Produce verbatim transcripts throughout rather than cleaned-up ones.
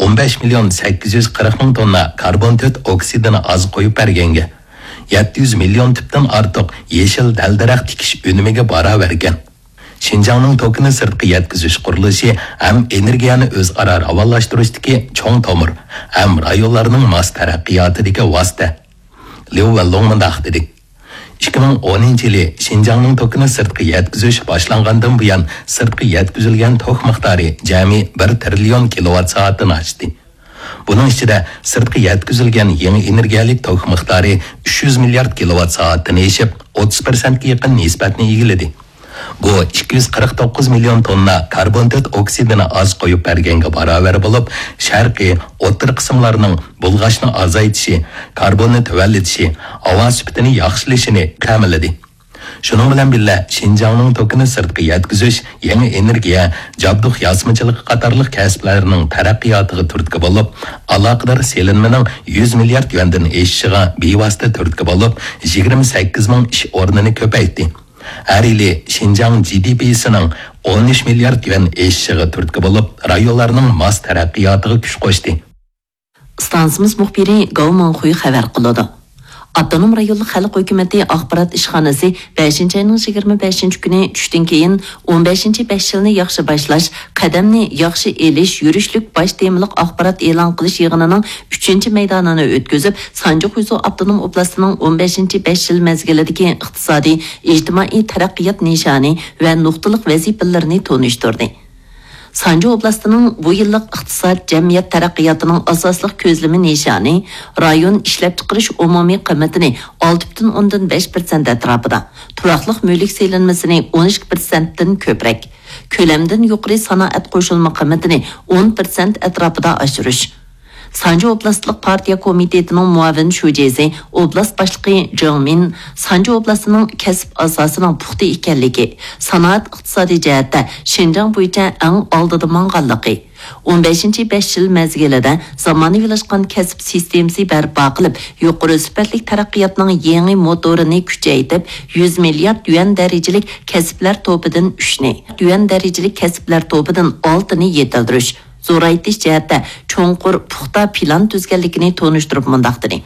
ئون بەش مىليون سەككىز يۈز قىرىق مىڭ توننا كاربون تۆت ئوكسىدىنى ئاز قويۇپ بەرگەنگە، يەتتە يۈز مىليون تۈپتىن ئارتۇق يېشىل دەل-دەرەخ تىكىش ئۈنۈمىگە باراۋەركەن. شىنجاڭنىڭ توكىنى سىرتقا يەتكۈزۈش قۇرۇلۇشى ھەم ئېنېرگىيەنى ئۆزئارا راۋانلاشتۇرۇشتىكى چوڭ تومۇر ھەم رايونلارنىڭ ماس تەرەققىياتىدىكى ۋاسىتە. ليۇ ۋېنلۇڭ مۇنداق دېدى: «ئىككى مىڭ ئونىنچى يىلى شىنجاڭنىڭ توكىنى سىرتقا يەتكۈزۈش باشلانغاندىن بۇيان، سىرتقا يەتكۈزۈلگەن توك مىقدارى جەمئىي بىر تىرىليون كىلوۋات سائەتتىن ئاشتى. بۇنىڭ ئىچىدە سىرتقا يەتكۈزۈلگەن يېڭى ئېنېرگىيەلىك توك مىقدارى ئۈچ يۈز مىليارد كىلوۋات سائەتتىن ئېشىپ، ئوتتۇز پىرسەنتكە يېقىن نىسبەتنى ئىگىلىدى. بۇ ئىككى يۈز قىرىق توققۇز مىليون توننا كاربون تۆت ئوكسىدىنى ئاز قويۇپ بەرگەنگە باراۋەر بولۇپ، شەرقىي، ئوتتۇرا قىسىملارنىڭ بۇلغاشنى ئازايتىشى، كاربوننى تۆۋەنلىتىشى، ھاۋا سۈپىتىنى ياخشىلىشىنى تەمىنلىدى.» شۇنىڭ بىلەن بىللە، شىنجاڭنىڭ توكىنى سىرتقا يەتكۈزۈش، يېڭى ئېنېرگىيە، جابدۇق ياسىمىچىلىقى قاتارلىق كەسىپلەرنىڭ تەرەققىياتىغا تۈرتكە بولۇپ، ئالاقىدار سېلىنمىنىڭ يۈز مىليارد يۈەندىن ئېشىشىغا بىۋاسىتە تۈرتكە بولۇپ، يىگىرمە سەككىز مىڭ ئىش ئورنىنى كۆپەيتتى. ھەر يىلى شىنجاڭ جىدىپىسىنىڭ ئون ئۈچ مىليارد يۈەن ئېشىشىغا تۈرتكە بولۇپ، رايونلارنىڭ ماس تەرەققىياتىغا كۈچ قوشتى. ئىستانسىمىز مۇخبىرى گاۋ مىڭخۇي خەۋەر قىلىدۇ. ئاپتونوم رايونلۇق خەلق ھۆكۈمىتى ئاخبارات ئىشخانىسى بەشىنچى ئاينىڭ يىگىرمە بەشىنچى كۈنى چۈشتىن كېيىن، ئون بەشىنچى بەش يىلنى ياخشى باشلاش، قەدەمنى ياخشى ئېلىش يۈرۈشلۈك باش تېمىلىق ئاخبارات ئېلان قىلىش يىغىنىنىڭ ئۈچىنچى مەيدانىنى ئۆتكۈزۈپ، سانجى خۇيزۇ ئاپتونوم ئوبلاستىنىڭ ئون بەشىنچى بەش يىل مەزگىلىدىكى ئىقتىسادىي، ئىجتىمائىي تەرەققىيات نىشانى ۋە نۇقتىلىق ۋەزىپىلىرىنى تونۇشتۇردى. سانجى ئوبلاستىنىڭ بۇ يىللىق ئىقتىساد، جەمئىيەت تەرەققىياتىنىڭ ئاساسلىق كۆزلىمە نىشانى رايون ئىشلەپچىقىرىش ئومۇمىي قىممىتىنى ئالتە پۈتۈن ئوندىن بەش پىرسەنت ئەتراپىدا، تۇراقلىق مۈلۈك سېلىنمىسىنى ئون ئىككى پىرسەنتتىن كۆپرەك، كۆلەمدىن يۇقىرى سانائەت قوشۇلما قىممىتىنى ئون پىرسەنت ئەتراپىدا ئاشۇرۇش. سانجى ئوبلاستلىق پارتىيە كومىتېتىنىڭ مۇئاۋىن شۇجىسى، ئوبلاست باشلىقى جېڭ مىن سانجى ئوبلاستىنىڭ كەسىپ ئاساسىنىڭ پۇختا ئىكەنلىكى، سانائەت ئىقتىسادىي جەھەتتە شىنجاڭ بويىچە ئەڭ ئالدىدا ماڭغانلىقى، ئون بەشىنچى بەش يىل مەزگىلىدە زامانىۋىلاشقان كەسىپ سىستېمىسى بەرپا قىلىپ، يۇقىرى سۈپەتلىك تەرەققىياتنىڭ يېڭى موتورىنى كۈچەيتىپ، يۈز مىليارد يۈەن دەرىجىلىك كەسىپلەر توپىدىن ئۈچنى، يۈەن دەرىجىلىك كەسىپلەر توپىدىن ئالتىنى يېتىلدۈرۈش، زورايتىش جەھەتتە چوڭقۇر، پۇختا پىلان تۈزگەنلىكىنى تونۇشتۇرۇپ مۇنداق دېدى: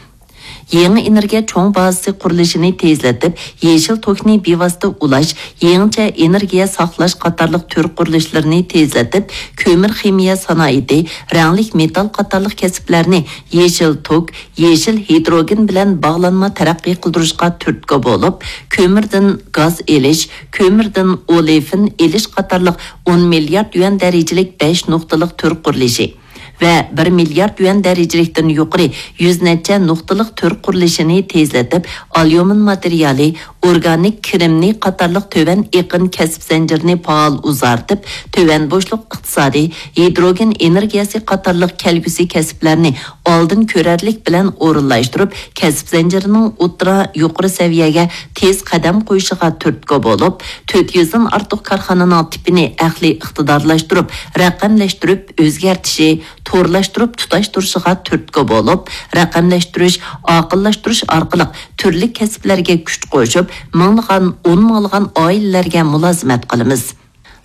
يېڭى ئېنېرگىيە چوڭ بازىسى قۇرۇلۇشىنى تېزلىتىپ، يېشىل توكنى بىۋاسىتە ئۇلاش، يېڭىچە ئېنېرگىيە ساقلاش قاتارلىق تۈر قۇرۇلۇشلىرىنى تېزلىتىپ، كۆمۈر خىمىيە سانائىتى، رەڭلىك مېتال قاتارلىق كەسىپلەرنى يېشىل توك، يېشىل ھىدروگېن بىلەن باغلانما تەرەققىي قىلدۇرۇشقا تۈرتكە بولۇپ، كۆمۈردىن گاز ئېلىش، كۆمۈردىن ئولېفىن ئېلىش قاتارلىق ئون مىليارد يۈەن دەرىجىلىك بەش نۇقتىلىق تۈر قۇرۇلۇشى ۋە بىر مىليارد يۈەن دەرىجىلىكتىن يۇقىرى يۈز نەچچە نۇقتىلىق تۈر قۇرۇلۇشىنى تېزلىتىپ، ئاليۇمىن ماتېرىيالى، ئورگانىك كىرىمنى قاتارلىق تۆۋەن ئېقىن كەسىپ زەنجىرىنى پائال ئۇزارتىپ، تۆۋەن بوشلۇق ئىقتىسادى، ھىدروگېن ئېنېرگىيەسى قاتارلىق كەلگۈسى كەسىپلەرنى ئالدىن كۆرەرلىك بىلەن ئورۇنلاشتۇرۇپ، كەسىپ زەنجىرىنىڭ ئوتتۇرا، يۇقىرى سەۋىيەگە تېز قەدەم قويۇشىغا تۈرتكە بولۇپ، تۆت يۈزدىن ئارتۇق كارخانىنىڭ تىپىنى ئەقلىي ئىقتىدارلاشتۇرۇپ، رەقەملەشتۈرۈپ ئۆزگەرتىشى، تورلاشتۇرۇپ تۇتاشتۇرۇشىغا تۈرتكە بولۇپ، رەقەملەشتۈرۈش، ئاقىللاشتۇرۇش ئارقىلىق تۈرلۈك كەسىپلەرگە كۈچ قوشۇپ، مىڭلىغان، ئون مىڭلىغان ئائىلىلەرگە مۇلازىمەت قىلىمىز.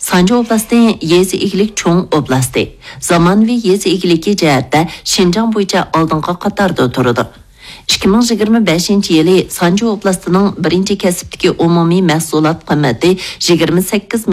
سانجى ئوبلاستى يېزا ئىگىلىك چوڭ ئوبلاستى. زامانىۋى يېزا ئىگىلىكى جەھەتتە شىنجاڭ بويىچە ئالدىنقى قاتاردا تۇرىدۇ. ئىككى مىڭ يىگىرمە بەشىنچى يىلى سانجى ئوبلاستىنىڭ بىرىنچى كەسىپتىكى ئومۇمىي مەھسۇلات قىممىتى يىگىرمە سەككىز